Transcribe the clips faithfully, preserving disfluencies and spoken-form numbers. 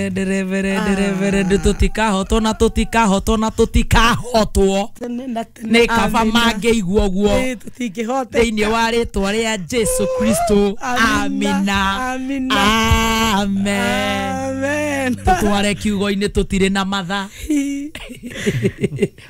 Reverend, Reverend, tũtikahotwo na tũtikahotwo na tũtikahotwo. Tene na tene. Nĩ kaba Amina. Mangĩigua ũguo. Ĩ, tũtingĩhoteka. Thĩinĩ wa rĩtwa rĩa Jesu Kristo. Amina. Amina. Amina. Amen. Amen. Tũtware kiugo-inĩ, tũtirĩ na matha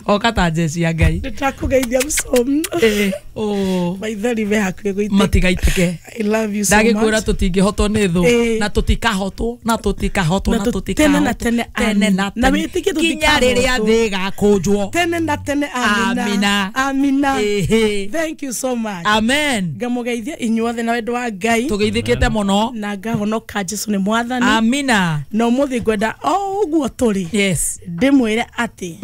oka ta jeci ya Ngai. Nĩndakũgeithia mũcomi. Eh, oh. Maithori me hakuhĩ gũitĩka. Matigaitĩke. I love you so Ndagĩkwĩra much. Tũtingĩhotwo nĩ thũ Eh. na tũtikahotwo na tũtikahotwo Na na tũ- tũtikahotwo. Tene na tene, tene na amina. Na tene. wĩtĩkie Nginya rĩrĩa tũtikahotwo. Thĩ ĩgakũnjwo. Tene na tene, amina. Amina. Amina. Ĩhĩ. Thank you so much. Amen. Ngamũgeithia inyuothe na wendo wa Ngai. Tũgeithĩkĩte mũno. Na ngahonoka, Jesu nĩ mwathani. Amina. Na ũmũthĩ ngwenda o ũguo tũrĩ yes ndĩmwĩre atĩ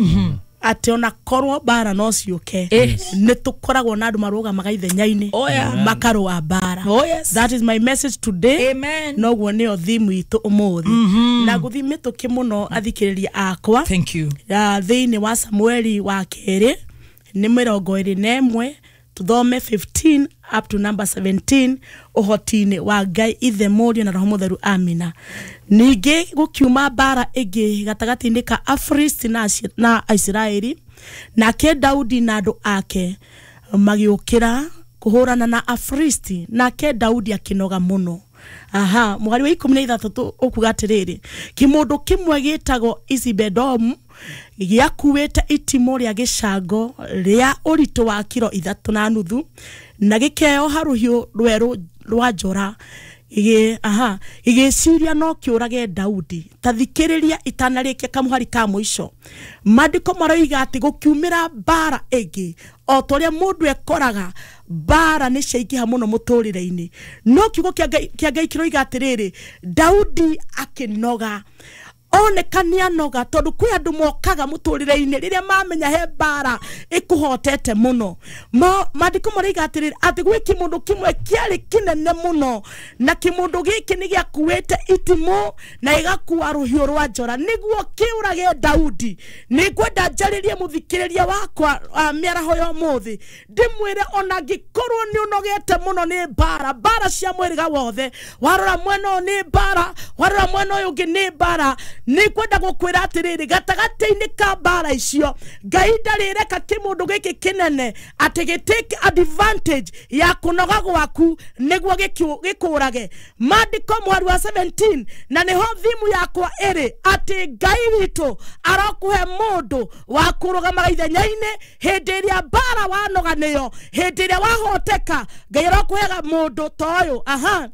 atĩ ona korwo mbara no ciũke, Eh. nĩ tũkoragwo na andũ marũgamaga ithenya-inĩ, Oh, yeah. makarũa mbara. Oh, yes. That is my message today. Amen. Noguo nĩyo thimu itũ ũmũthĩ na ngũthiĩ mĩtũkĩ mũno, athikĩrĩria akwa. Thank you. Ya thĩinĩ wa Samueli wa kerĩ nĩ mĩrongo ĩrĩ na ĩmwe, tũthome fifteen up to number seventeen, ũhoti-inĩ wa Ngai Ithe, Mũriũ na Roho Mũtheru. Amina. Ningĩ gũkiuma mbara ĩngĩ gatagatĩ-inĩ ka Afilisti na Aci- na Aisiraeli, nake Daudi na andũ ake magĩũkĩra kũhũrana na Afilisti, nake Daudi akĩnoga mũno. Aha, mũhari wa ikũmi na ithathatũ ũkuga atĩrĩrĩ, kĩmũndũ kĩmwe gĩtagwo Isibedomu gĩakuĩte itimũ rĩa gĩcango rĩa ũritũ wa kiro ithatũ na nuthu na gĩkeoha rũhiũ rwerũ rwa njora, gĩgĩ- aha gĩgĩciria no kĩũrage Daudi. Ta thikĩrĩria, itanarĩkia kamũhari ka mũico, maandĩko maroiga atĩ gũkiumĩra mbara ĩngĩ. O ta ũrĩa mũndũ ekoraga mbara nĩ ciaingĩha mũno mũtũrĩre-inĩ, no kiugo kĩa Ngai- kĩa Ngai kĩroiga atĩrĩrĩ, Daudi akĩnoga, oneka nĩ anoga, tondũ kwĩ andũ mokaga mũtũrĩre-inĩ rĩrĩa mamenya he mbara ĩkũhotete mũno. Mo- maandĩko maroiga atĩrĩrĩ, atĩ gwĩ kĩmũndũ kĩmwe kĩarĩ kĩnene mũno, na kĩmũndũ gĩkĩ nĩ gĩakuĩte itimũ na gĩgakua rũhiũ rwa njora nĩguo kĩũrage Daudi. Nĩ ngwenda njarĩrie mũthikĩrĩria wakwa uh, mĩaraho ya ũmũthĩ, ndĩmwĩre ona angĩkorwo nĩ ũnogete mũno nĩ mbara, mbara cia mwĩrĩga wothe, warora mwena ũyũ nĩ mbara, warora mwena ũyũ ũngĩ nĩ mbara, nĩ ngwenda gũkwĩra atĩrĩrĩ, gatagatĩ-inĩ ka mbara icio, Ngai ndarĩreka kĩmũndũ gĩkĩ kĩnene atĩ gĩ take advantage ya kũnoga gwaku nĩguo gĩkĩ- gĩkũrage. Maandĩko mweri wa seventeen, na nĩho thimu yakwa ĩrĩ, atĩ Ngai witũ arokũhe mũndũ wa kũrũgamaga ithenya-inĩ hĩndĩ ĩrĩa mbara wanoga nĩyo, hĩndĩ ĩrĩa wahoteka, Ngai arokũhega mũndũ ta ũyũ. Aha,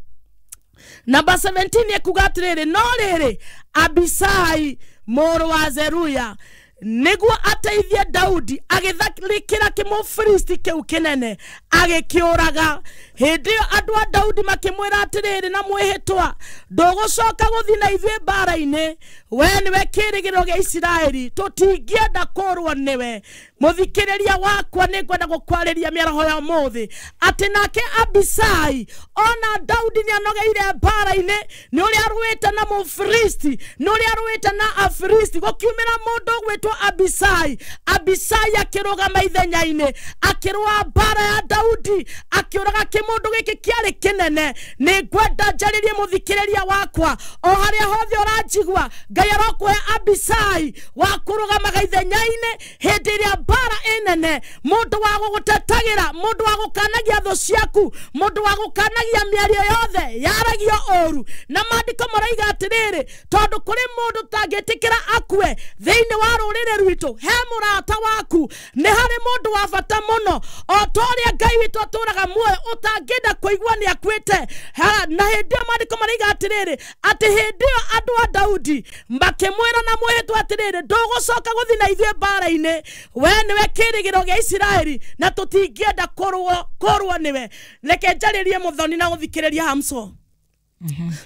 namba seventeen ekuga atĩrĩrĩ, no rĩrĩ, Abisai mũrũ wa Zeruya, nĩguo ateithie Daudi, agĩtharĩkĩra kĩmũfilisti kĩu kĩnene, agĩkĩũraga. Hĩndĩ ĩyo andũ a Daudi makĩmwĩra atĩrĩrĩ na mwĩhĩtwa, "Ndũgũcoka gũthiĩ na ithuĩ mbara-inĩ. We nĩwe kĩĩrĩgĩrĩro gĩa Isiraeli, tũtingĩenda kũrwo nĩwe." Mũthikĩrĩria wakwa, nĩ ngwenda gũkwarĩria mĩaraho ya ũmũthĩ atĩ nake Abisai, ona Daudi nĩ anogeire mbara-inĩ nĩ ũrĩa arũĩte na Mũfilisti, nĩ ũrĩa arũĩte na Afilisti, gũkiumĩra mũndũ ũgwĩtwo Abisai. Abisai akĩrũgama ithenya-inĩ, akĩrũa mbara ya Daudi, akĩũraga kĩmũndũ gĩkĩ kĩarĩ kĩnene. Nĩ ngwenda njarĩrie mũthikĩrĩria wakwa o harĩa hothe ũranjigua, Ngai arokũhe Abisai wa kũrũgamaga ithenya-inĩ hĩndĩ ĩrĩa mbara ĩnene, mũndũ wa gũgũtetagĩra, mũndũ wa gũkanagia thũ ciaku, mũndũ wa gũkanagia mĩario yothe yaragio ũru. Na maandĩko maroiga atĩrĩrĩ, tondũ kũrĩ mũndũ tangĩtĩkĩra akue thĩinĩ wa rũrĩrĩ rwitũ, he mũrata waku, nĩ harĩ mũndũ wa bata mũno, o ta ũrĩa Ngai witũ atũraga muoyo, ũtangĩenda kũigua nĩ akuĩte. Ha, na hĩndĩ ĩyo maandĩko maroiga atĩrĩrĩ, atĩ hĩndĩ ĩyo andũ a Daudi makĩmwĩra na mwĩhĩtwa atĩrĩrĩ, "Ndũgũcoka gũthiĩ na ithuĩ mbara-inĩ. We nĩwe kĩĩrĩgĩrĩro gĩa Isiraeli na tũtingĩenda kũrũo kũrũo nĩwe." Reke njarĩrie mũthoni na gũthikĩrĩria hamso,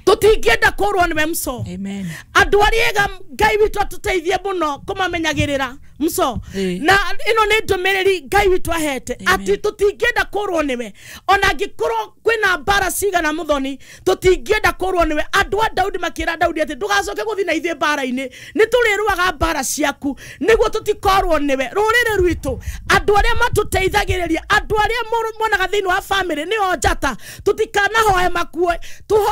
tũtingĩenda kũrũo nĩwe mso. Amen. Andũ arĩa ega, Ngai witũ atũteithie mũno kũmamenyagĩrĩra mso. Ĩĩ. Na ĩno nĩ ndũmĩrĩri Ngai witũ ahete Amen. atĩ tũtingĩenda kũrwo nĩwe ona angĩkorwo kwĩna mbara cigana. Mũthoni, tũtingĩenda kũrwo nĩwe. Andũ a Daudi makĩra Daudi atĩ ndũgacoke gũthiĩ na ithuĩ mbara-inĩ, nĩ tũrĩrũaga mbara ciaku nĩguo tũtikorwo nĩwe. Rũrĩrĩ rwitũ, andũ arĩa matũteithagĩrĩria, andũ arĩa mũrũ- monaga thĩinĩ wa famĩlĩ nĩo njata, tũtikanahoe makue, tũhoe.